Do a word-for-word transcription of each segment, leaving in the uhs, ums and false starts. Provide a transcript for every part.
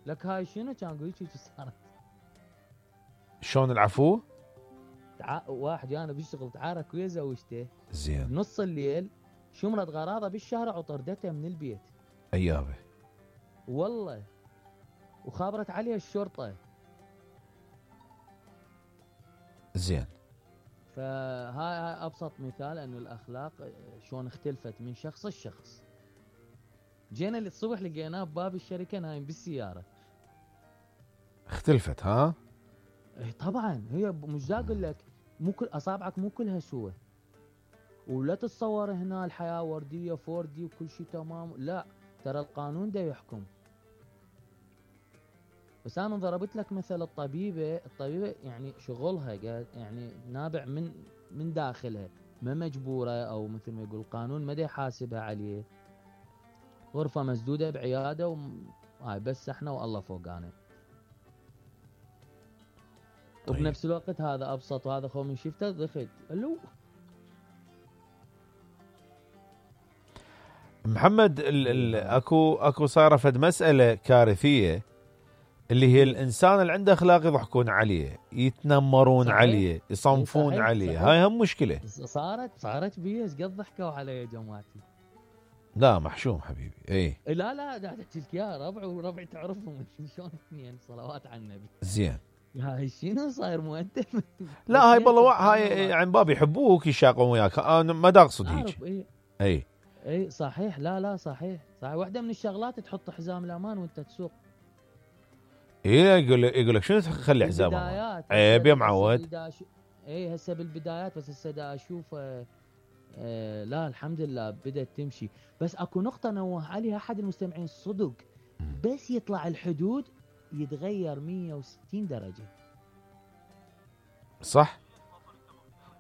لك هاي شنو كان اقول لك صارت؟ شلون العفو؟ تع... واحد جانا بالشغل تعارك ويا زوجته زين بنص الليل، شمرت غراضه بالشارع وطردته من البيت. ايابه والله، وخابرت عليه الشرطه. زين. فهاي هاي ابسط مثال انه الاخلاق شلون اختلفت من شخص لشخص. جينا الصبح لقيناه بباب الشركه نايم بالسياره. اختلفت ها؟ اي طبعا، هي مش دا اقول لك مو كل اصابعك مو كلها سوى. ولا تتصور هنا الحياه ورديه فوردي وكل شيء تمام، لا، ترى القانون دا يحكم. بس انا ضربت لك مثل الطبيبه، الطبيبه يعني شغلها يعني نابع من من داخلها، ما مجبوره او مثل ما يقول القانون ما دا يحاسبها عليه. غرفه مسدوده بعياده وهاي بس احنا والله فوقانا. طيب. وبنفس الوقت هذا ابسط وهذا خو من شفته ضخت الو. محمد ال ال اكو اكو صايره فد مساله كارثيه اللي هي الانسان اللي عنده اخلاق يضحكون عليه، يتنمرون صحيح. عليه، يصنفون صحيح. عليه صحيح. هاي هم مشكله. صارت صارت بي ايش قد ضحكوا علي يا جماعتي. لا محشوم حبيبي. اي لا لا دا احكي لك يا ربع وربع تعرفهم شلون اثنين صلوات على النبي. زين. هاي شنو صاير مؤدب؟ لا هاي بالله هاي عن باب يحبوك يشاقون وياك، انا ما دا اقصد هيك. اي اي اي صحيح. لا لا صحيح صحيح. واحده من الشغلات تحط حزام الامان وانت تسوق. اي يقول يقول لك شنو تخلي حزام امان؟ عيب يا معود. اي هسه بالبدايات، بس هسه دا اشوف آه آه لا الحمد لله بدات تمشي. بس اكو نقطه نوه عليها احد المستمعين صدق، بس يطلع الحدود يتغير مية وستين درجه. صح.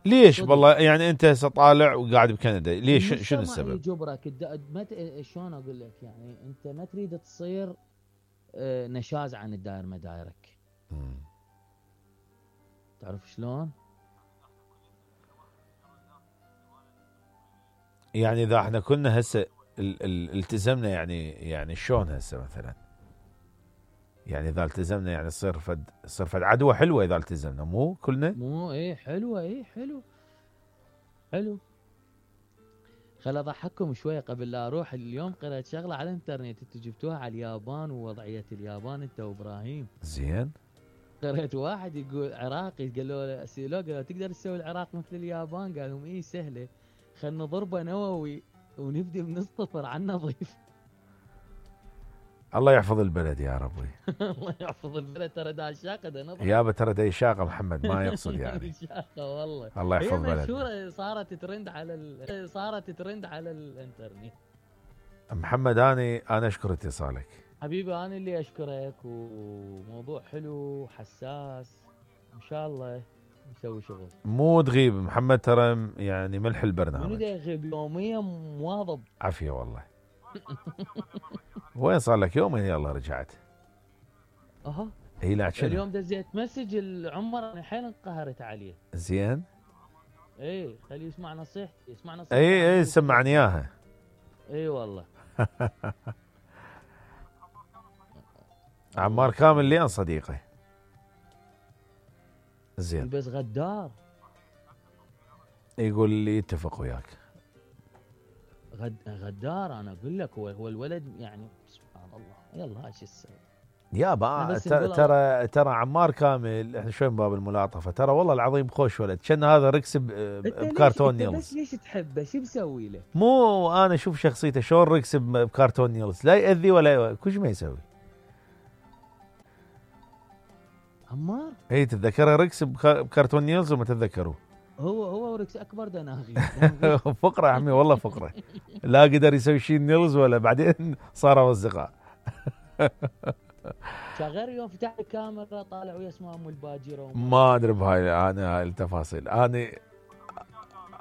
ليش والله يعني انت هسه طالع وقاعد بكندا، ليش شنو السبب؟ يجبرك ما شلون اقول لك، يعني انت ما تريد تصير آه نشاز عن الداير مدايرك. مم. تعرف شلون؟ يعني اذا احنا كنا هسه التزمنا، يعني يعني شلون هسه مثلا؟ يعني اذا التزمنا يعني تصير فد تصير فد عدوى حلوه اذا التزمنا، مو كلنا؟ مو ايه حلوه. ايه حلو حلو. خل اضحككم شويه قبل لا اروح. اليوم قرأت شغله على الانترنت انتوا جبتوها على اليابان ووضعيه اليابان انت وابراهيم. زين. قرأت واحد يقول عراقي، قالوا له سيلو قالوا تقدر تسوي العراق مثل اليابان؟ قال لهم ايه سهله، خلنا ضربه نووي ونبدي من الصفر على النظيف. الله يحفظ البلد يا ربي. الله يحفظ البلد. ترى دا شاقه دا نظر يابا، ترى دا شاقه محمد ما يقصد يعني. شاقه والله. الله يحفظ بلد. هي مشهوره صارت ترند على ال... صارت ترند على الانترنت. محمد اني انا اشكر اتصالك حبيبي. انا اللي اشكرك، وموضوع حلو حساس، ان شاء الله نسوي شغل. مو تغيب محمد، ترى يعني ملح البرنامج. منو دا يغيب؟ يوميا مواظب. عافيه والله. وين صار لك يومين يلا رجعت؟ اها. اي لا شنو؟ اليوم دزيت مسج العمر انا حيل انقهرت عليه. زين. اي خليه يسمع نصيحتي، يسمع نصيحتي. اي اي سمعني اياها. اي والله. عمار كامل لين صديقي. زين. بس غدار. يقول لي يتفق وياك. غد غدار. انا اقول لك هو هو الولد يعني سبحان الله. يلا ايش تسوي؟ يابا ترى ترى عمار كامل احنا شوي من باب الملاطفه، ترى والله العظيم خوش ولد، كان هذا ركس بكرتون نيلز. بس ليش تحبه؟ شو بسوي له؟ مو انا اشوف شخصيته شلون ركس بكرتون نيلز، لا يأذي ولا كل ما يسوي. عمار؟ اي تتذكره ركس بكرتون نيلز وما تتذكروه؟ هو هو وركس اكبر دناغي. فقره يا عمي والله فقره. لا قدر يسوي شيء نيلز ولا بعدين صاروا اصدقاء. شغال يوم فتح الكاميرا طالع ويا اسمه ام الباجره. ما ادري بهاي انا هاي التفاصيل. انا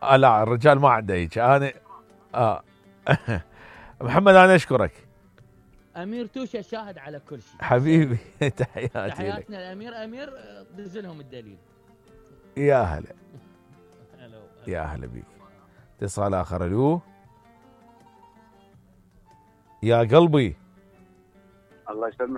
آه لا الرجال ما عنده هيك. انا اه محمد انا اشكرك. امير توشه شاهد على كل شيء حبيبي. تحياتي لك. تحياتنا الامير. امير دزلهم الدليل. يا هلا. يا هلا بيك. اتصال اخر. الو يا قلبي. الله يسلمك.